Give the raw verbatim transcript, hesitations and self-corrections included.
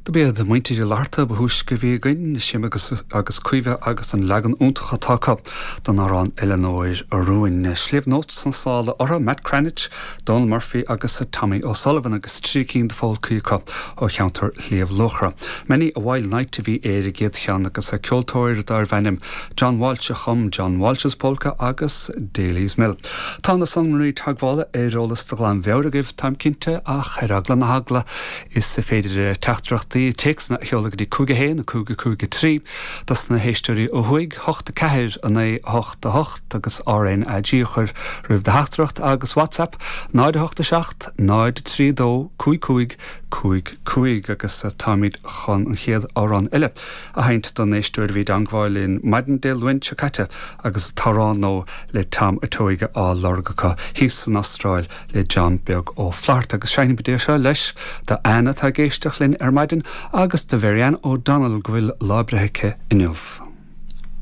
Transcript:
Do b'iad muintir Uí Fhlatharta ba thúisce a bhí againn, Séamus agus Caoimhe agus an leagan iontach atá acu den amhrán Eileanóir Rúin. Sliabh Notes sna sála orthu, Matt Cranitch, Donal Murphy agus Tommy O'Sullivan agus trí cinn de pholcaí acu ó cheantar Shliabh Luachra. Many a Wild Night a bhí ar an gcéad cheann agus a ceoltóir darbh ainm John Walsh a chum John Walsh's Polka agus Daly's Mill. Tá na sonraí teagmhála ar eolas de ghlanmheabhair agaibh táim cinnte ach ar eagla na heagla is féidir teachtaireachtaí téacsanna a sheoladh go dtí cúig a haon, cúig cúig trí, dos na héisteoirí ó thuaidh, hocht a ceathair a naoi hocht a hocht agus RNAG a chur roimh do theachtaireacht agus WhatsApp náid a hocht a seacht, náid trí dó, cúig cúig cúig cúig agus táimid chun an chéad amhrán eile a sheinnt don éisteoir a bhí i dteagmháil linn maidin Dé Luain seo caite agus t-amhrán nó le Tom a' Tóige á lorg acu thíos san Astráil le John Beag Ó Flatharta agus seinnimid é seo leis do Anna atá ag éisteacht linn ar maidin agus do Mharianne O'Donnell go bhfuil lá breithe aici inniu.